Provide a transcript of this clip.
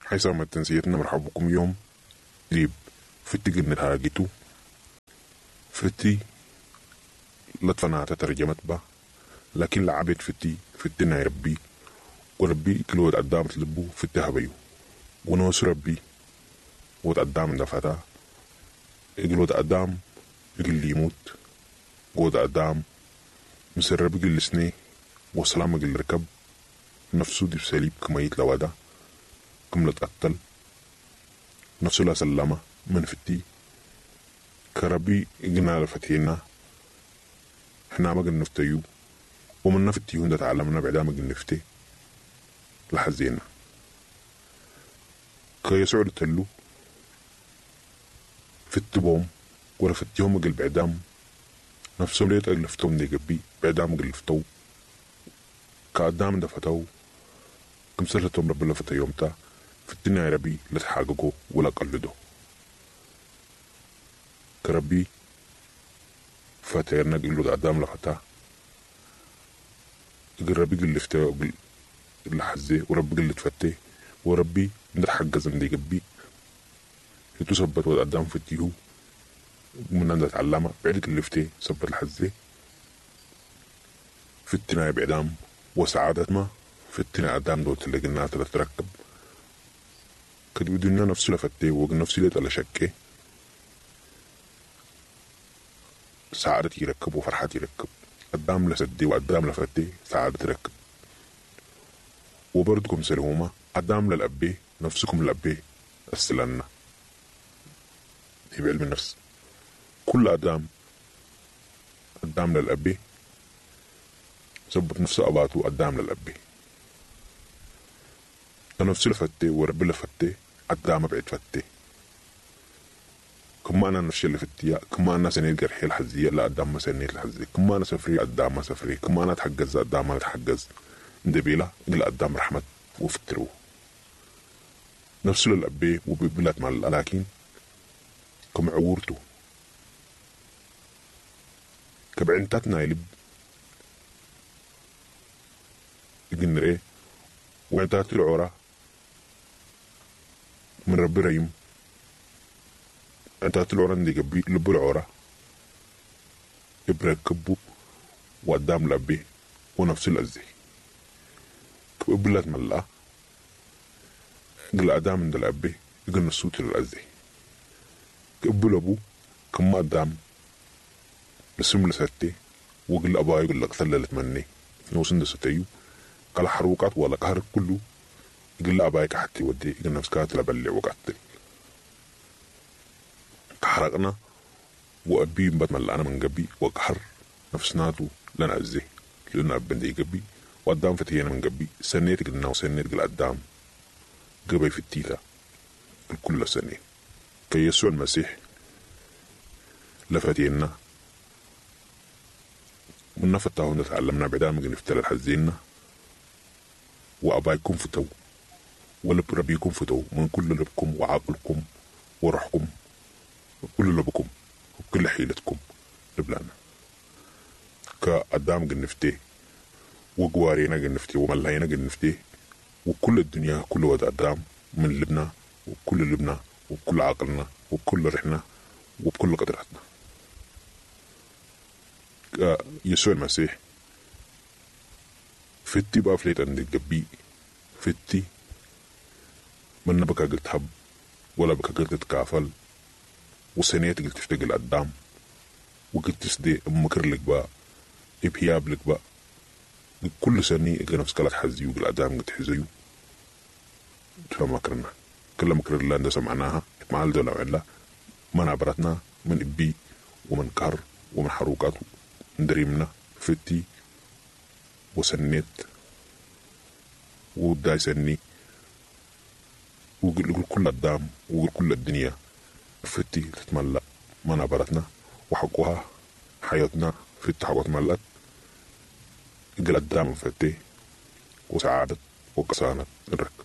حيسام تنسيتنا مرحبكم يوم ديب فتي قلنا هاجتو فتي لطفنا ترجمت با لكن لعبت فتي فتنا ربي وربي كل ود قدام تلبو فتي هبيو ونوس ربي ود قدام دفتا اجل ود قدام اجل يموت ود قدام مسرب اجل سني وسلام اجل ركب نفسه دي بسليب كما يتلودا كم لتقتل نفسه لا سلمة من فتي كربي اجنا لفتينا احنا ما نفتيو ومن نفتيو ده تعلمنا بعدا ما نفتي لحزينا كيسوع تلو فتبوم ولا فتيهم اجل بعدام نفسهم ليت اجلفتهم دي جبي بعدام اجلفتو كقدام دفتو كم سلتهم رب لفتا يومتا فتنا ربي لا تحققوا ولا قلدوا كربي فتيرنا قلو قدام لفتا ربي قل لفتا لحزي وربي قل تفتي وربي نتحجز من دي جبي يتثبت قدام فتيهو من عند تعلمها بعد اللفتي ثبت الحزي فتنا بعدام وسعادة ما فتنا قدام دوت اللي قلنا تتركب كد بدنا نفسه لفتي ونفسي ليت على شكي سعادة يركب وفرحة يركب قدام لسدي وقدام لفتي سعادة تركب وبرضكم سلهومة قدام للأبي نفسكم للأبي السلنا هي بعلم النفس كل أدام قدام للأبي ثبت نفسه أباته قدام للأبي نفسي لفتي وربي لفتي قدام بعد فتي كما أنا نفسي لفتي كما أنا سنيت جرحي الحزية لا قدام ما سنيت الحزية كما أنا سفري قدام ما سفري كما أنا اتحجز قدام ما اتحجز دبيلة إلى قدام رحمة وفترو نفسه للأبي وببلات مع لكن كم عورته كبعنتاتنا يلب إجنري وعنتات العورة من ربي ريم عنتات العورة عندي قبي لب العورة إبركبو وقدام لبي ونفس الأزي كبلات ملا قل أدام عند الأبي يقول الصوت للأزي كبل أبو كما قدام لسم لستي وقل أبا يقول لك ثللت مني نوسن دستيو قال حروقات ولا قهر كله يقول أبايك حتى ودي يقول نفسك لبلع وقتل كحرقنا وأبي بتملأ أنا من قبي وقهر نفسناتو لنا أزي لنا أبن قبي وقدام فتينا من قبي سنيت قلنا وسنيت قل قدام قبي في التيتا الكل سنة كيسوع المسيح لفتينا من فتاه تعلمنا بعدها من نفتل الحزينة وأبايكم فتو ولب ربيكم فتو من كل لبكم وعقلكم وروحكم وكل لبكم وكل حيلتكم لبلانا كقدام جنفتي وجوارينا جنفتي وملاينا جنفتي وكل الدنيا كل واد قدام من لبنا وكل لبنا وبكل عقلنا وبكل رحنا وبكل قدراتنا. يسوع المسيح فتي بقى فليت عند الجبي فتي من بكا قلت هب ولا بكا قلت تكافل وسنيت قلت تشتغل قدام وقلت تسدي مكر لك بقى ابهياب لك بقى كل سنة إجا نفس كلا تحزيو قل قد حزيو تفهم مكرنا كل مكر الله عند سمعناها مع الدولة وعلا ما نعبرتنا من إبي ومن كهر ومن حروقات دريمنا فتي وسنيت وداي سني وقل كل الدام وقل كل الدنيا فتي تتملأ ما نعبرتنا وحقها حياتنا فتي حقوت ملأت قل الدام فتي وسعادة وقسانة الركب.